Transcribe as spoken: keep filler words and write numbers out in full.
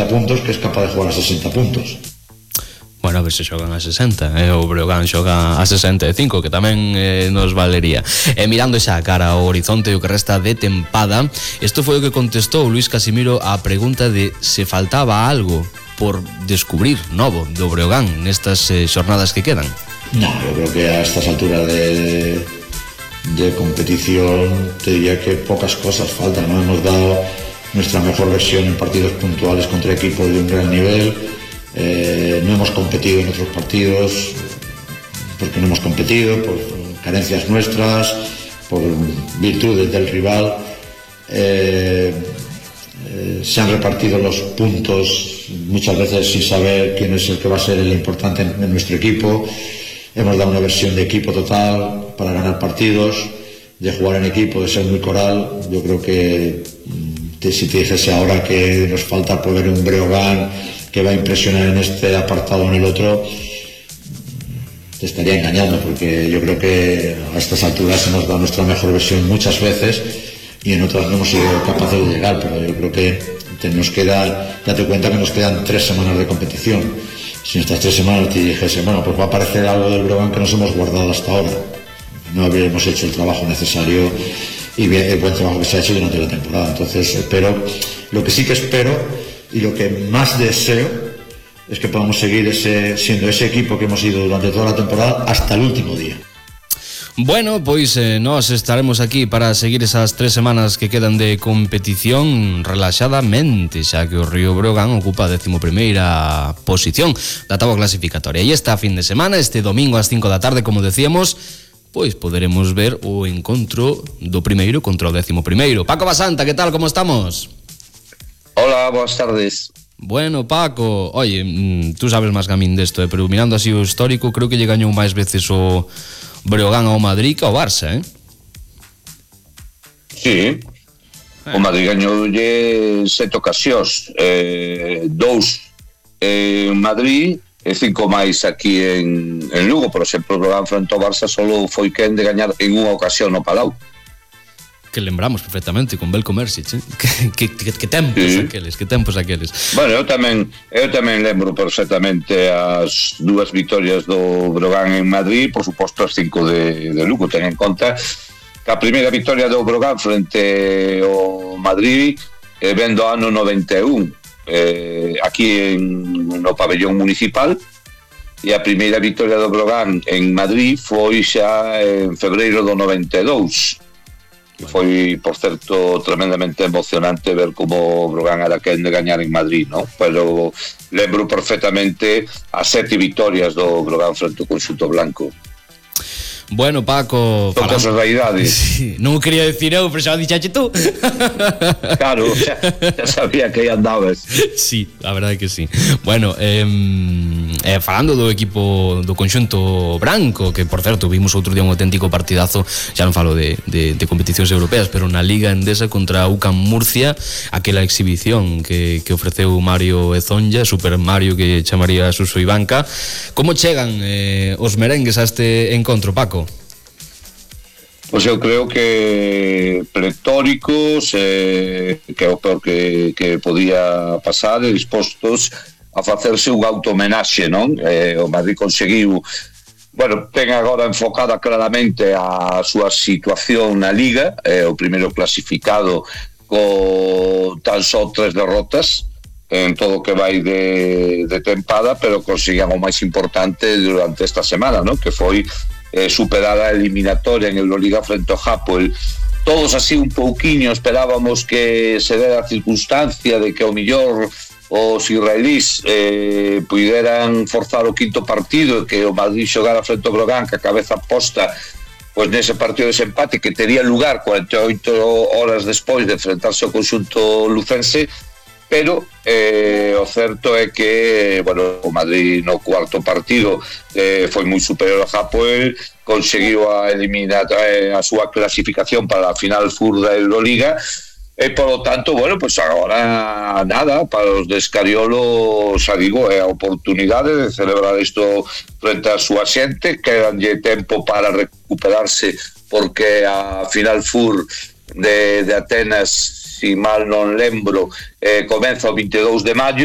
puntos que es capaz de jugar a sesenta puntos. Bueno, a ver se xogan a sesenta, eh? O Breogán xoga a sesenta e cinco, que tamén eh, nos valería. E mirando xa a cara ao horizonte e o que resta de tempada, isto foi o que contestou Luís Casimiro á pregunta de se faltaba algo por descubrir novo do Breogán nestas eh, xornadas que quedan. No, yo creo que a estas alturas de, de competición te diría que pocas cosas faltan, ¿no? Hemos dado nuestra mejor versión en partidos puntuales contra equipos de un gran nivel. Eh, no hemos competido en otros partidos porque no hemos competido, por carencias nuestras, por virtudes del rival. Eh, eh, se han repartido los puntos muchas veces sin saber quién es el que va a ser el importante en, en nuestro equipo. Hemos dado una versión de equipo total para ganar partidos, de jugar en equipo, de ser muy coral. Yo creo que te, si te dijese ahora que nos falta por ver un Breogán que va a impresionar en este apartado o en el otro, te estaría engañando, porque yo creo que a estas alturas hemos dado nuestra mejor versión muchas veces y en otras no hemos sido capaces de llegar, pero yo creo que te, nos queda, date cuenta que nos quedan tres semanas de competición. Si en estas tres semanas te dijese, bueno, pues va a aparecer algo del Breogán que nos hemos guardado hasta ahora, no habríamos hecho el trabajo necesario y bien, el buen trabajo que se ha hecho durante la temporada. Entonces espero, lo que sí que espero y lo que más deseo es que podamos seguir ese, siendo ese equipo que hemos sido durante toda la temporada hasta el último día. Bueno, pois eh, nós estaremos aquí para seguir esas tres semanas que quedan de competición relaxadamente, xa que o Río Breogán ocupa a décimo primeira posición da táboa clasificatoria. E esta fin de semana, este domingo ás cinco da tarde, como decíamos, pois poderemos ver o encontro do primeiro contra o décimo primeiro. Paco Basanta, que tal, como estamos? Hola, boas tardes. Bueno, Paco, oye, tú sabes máis que a min desto, eh, pero mirando así o histórico, creo que lle gañou máis veces o Breogán ao Madrid que ao Barça, eh? Sí, o Madrid gañoulle sete ocasións, eh, dous en Madrid e cinco máis aquí en, en Lugo. Por exemplo, o Breogán frente ao Barça solo foi quen de gañar en unha ocasión no Palau. Que lembramos perfectamente con Belko Mersic, eh? que, que, que tempos sí. aqueles, que tempos aqueles. Bueno, eu tamén eu tamén lembro perfectamente as dúas vitorias do Breogán en Madrid, por suposto as cinco de, de Lugo. Ten en conta que a primeira victoria do Breogán frente ao Madrid eh, ven do ano noventa e un, eh, aquí en, no pabellón municipal, e a primeira victoria do Breogán en Madrid foi xa en febreiro do noventa e dous. Que foi, por certo, tremendamente emocionante ver como o Breogán era quen de gañar en Madrid, ¿no? Pero lembro perfectamente as sete vitorias do Breogán frente ao conxunto blanco. Bueno, Paco, son cosas da idade. Sí, non quería decir eu, pero xa o dixache tú. Claro, xa, xa sabía que aí andabas. Sí, a verdade que sí. Bueno, eh, eh, falando do equipo do conxunto branco, que por certo vimos outro día un auténtico partidazo, xa non falo de, de, de competicións europeas, pero na Liga Endesa contra U C A M Murcia, aquela exhibición que, que ofreceu Mario Ezonja, Super Mario que chamaría Suso Ivanka. Como chegan eh, os merengues a este encontro, Paco? Pois eu creo que pletóricos, eh, que é o peor que, que podía pasar, e dispostos a facerse un auto-homenaxe, non? Eh, o Madrid conseguiu, bueno, ten agora enfocada claramente a súa situación na Liga, eh, o primeiro clasificado con tan só tres derrotas en todo o que vai de, de tempada, pero conseguían o máis importante durante esta semana, non? Que foi Eh, superada a eliminatoria en Euroliga frente ao Hapoel. Todos así un pouquiño esperábamos que se dera a circunstancia de que ao millor os israelís eh, puderan forzar o quinto partido e que o Madrid xogara frente ao Breogán que a cabeza posta pois nese partido de desempate que tería lugar cuarenta e oito horas despois de enfrentarse ao conxunto lucense. Pero eh, o certo é que bueno, o Madrid no cuarto partido eh, foi moi superior ao Hapoel, conseguiu a eliminar eh, a súa clasificación para a final Fur da Euroliga e polo tanto, bueno, pues agora nada, para os de Escariolo xa digo, é a oportunidade de celebrar isto frente a súa xente, quedanlle tempo para recuperarse porque a final Fur de, de Atenas si mal non lembro, eh, comeza o veintidós de maio,